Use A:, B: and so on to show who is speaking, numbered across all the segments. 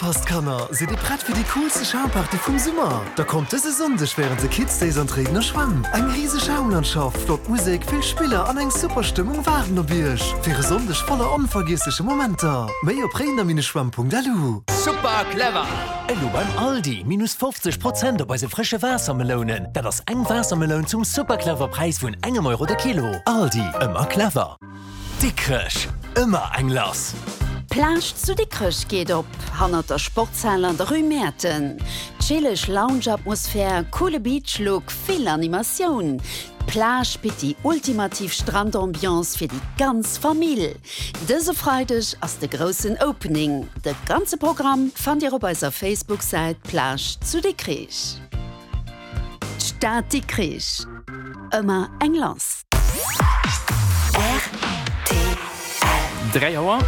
A: Opgepasst Kanner, sidd dir prett fir déi coolste Schaumparty vum Summer? Da kommt dëse Sonndeg wärend de Kids Days an d'Réidener Schwämm. Eng riseg Schaumlandschaft, flott Musek, vill Spiller an eng super Stëmmung waarden op iech fir e Sonndeg voller onvergiessleche Momenter. Méi op réidener-schwämm.lu.
B: Super clever! Elo beim Aldi, minus 50 Prozent op eise frësche Waassermelounen. Dat ass eng Waassermeloun zum super clever Präis vun engem Euro de Kilo. Aldi, ëmmer clever! Dikrech, ëmmer eng lass!
C: D'Plage zu Dikrech geet op, hannert der Sportshal an der Rue Mäerten. Chilleg Lounge-Atmosphär, coole Beach-Look, vill Animatioun. D'Plage bitt déi ultimativ Strandambiance fir déi ganz Famill. Dëse Freideg ass de groussen Opening. De ganze Programm fannt Dir op eiser Facebook-Säit Plage zu Dikrich. D'Stad Dikrich, ëmmer eng lass.
D: Rtl. 3 Auer.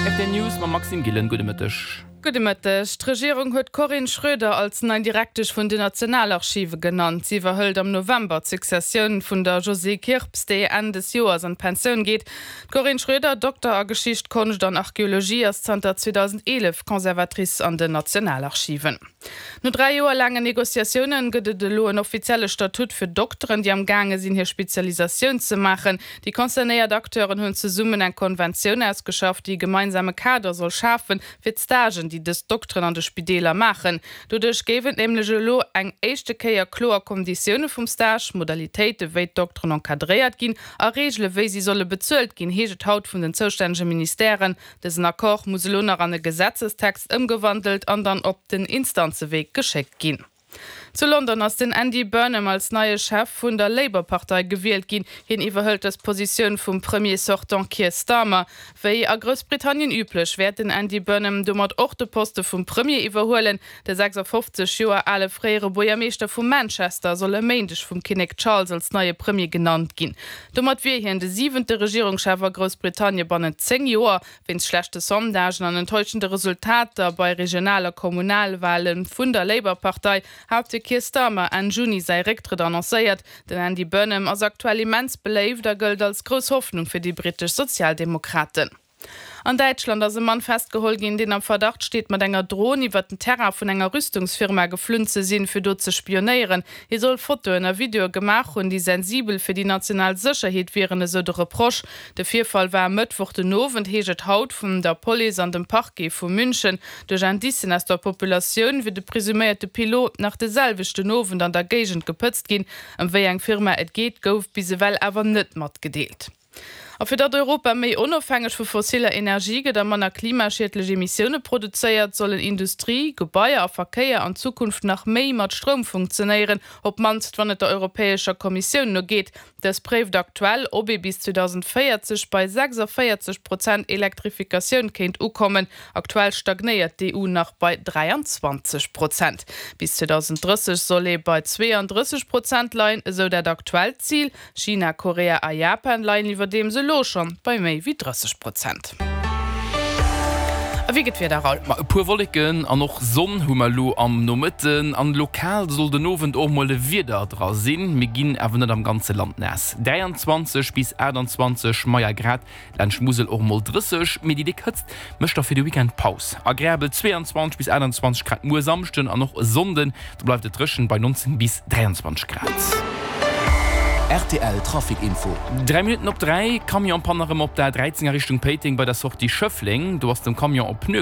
D: Rtl News mam Maxime Gillen. Gudde Mëtteg.
E: Gudde Mëtteg. D'Regierung huet d'Corinne Schroeder als nei Direktesch vun den Nationalarchive genannt. Si iwwerhëlt am November d'Successioun vun der Josée Kirps, déi Enn des Joers an d'Pensioun geet. D'Corinne Schroeder, Dokter a Geschicht, Konscht an Archeologie, ass zanter 2011 Conservatrice an den Nationalarchiven. No 3 Joer laangen Negociatioune gëtt et elo en offizielle Statut fir Dokteren, déi am gaange sinn, hir Spezialisatioun ze maachen. Déi concernéiert Acteuren hunn zesummen eng Konventioun ausgeschafft, déi e gemeinsame Kader soll schafen, fir d'Stagen, déi dës Dokteren an de Spideeler maachen. Doduerch géif et nämlech elo eng éischte Kéier kloer Konditioune vum Stage, Modalitéite wéi d'Dokteren encadréiert ginn a Reegele wéi si solle bezuelt ginn, heescht et haut vun den zoustännege Ministèren. Dësen Accord muss elo nach an e Gesetzestext ëmgewandelt an dann op den Instanzewee geschéckt ginn. Zu London ass den Andy Burnham als neie Chef vun der Labour-Partei gewielt ginn. Hien iwwerhëlt dës Positioun vum Premier sortant Keir Starmer. Wéi a Groussbritannien üblech, wäert den Andy Burnham domat och de Poste vum Premier iwwerhuelen. De 56 Joer ale fréiere Buergermeeschter vu Manchester soll e Méindeg vum Kinnek Charles als neie Premier genannt ginn. Domat wier hien de siwente Regierungschef a Groussbritannie bannent 10 Joer. Wéinst schlechte Sondagen an enttäuschende Resultater bei Regional a Kommunalwale vun der Labour-Partei hat de Keir Starmer Enn Juni säi Récktrëtt annoncéiert. Den Andy Burnham ass aktuell immens beléift a gëllt als grouss Hoffnung fir déi brittesch Sozialdemokraten. An Däitschland ass e Mann festgeholl ginn, deen am Verdacht steet, mat enger Dron iwwer den Terrain vun enger Rüstungsfirma geflunn ze sinn, fir do ze spionéieren. Hie soll Fotoen a Videoe gemaach hunn, déi sensibel fir déi national Sécherheet wieren, esou de Reproche. De Virfall war e Mëttwoch den Owend, heescht et haut vun der Police an dem Parquet vu München. Duerch Indicen aus der Populatioun wier de presuméierte Pilot nach de selwechten Owend an der Géigend gepëtzt ginn. Ëm wéi eng Firma et geet, gouf bis ewell awer net matgedeelt. A fir datt Europa méi onofhängeg vu fossiller Energie gëtt a manner klimaschiedlech Emissioune produzéiert, sollen Industrie, Gebaier a Verkéier an Zukunft nach méi mat Stroum funktionéieren, op d'mannst wann et der Europäescher Kommissioun no geet. Dës préift aktuell, ob ee bis 2040 bei 46 Prozent Elektrifikatioun kéint ukommen. Aktuell stagnéiert d'EU nach bei 23 Prozent. Bis 2030 soll ee bei 32 Prozent leien, esou dat aktuellt Zil. China, Korea a Japan leien iwwerdeems elo schonn bei méi wéi 30 Prozent. A wéi gëtt d'Wieder, Raoul?
D: Ma e puer Wolleken an och Sonn hu mer elo am Nomëtten an lokal soll den Owend och mol e Wieder dra sinn. Mir ginn awer net am ganze Land naass, 23 bis 28 mei a Grad, Laanscht Musel och mol 30, mee déi déck Hëtzt mécht da fir de Weekend Paus. Agreabel 22 bis 28 Grad muer Samschden an och e Sonnden, do bleift et dréchen bei 19 bis 23 Grad.
B: Rtl Trafic Info.
D: 3 Minutten op 3, Camion-Panne erëm op der A 13 a Richtung Péiteng bei der Sortie Schëffleng. Do ass dem Camion e Pneu.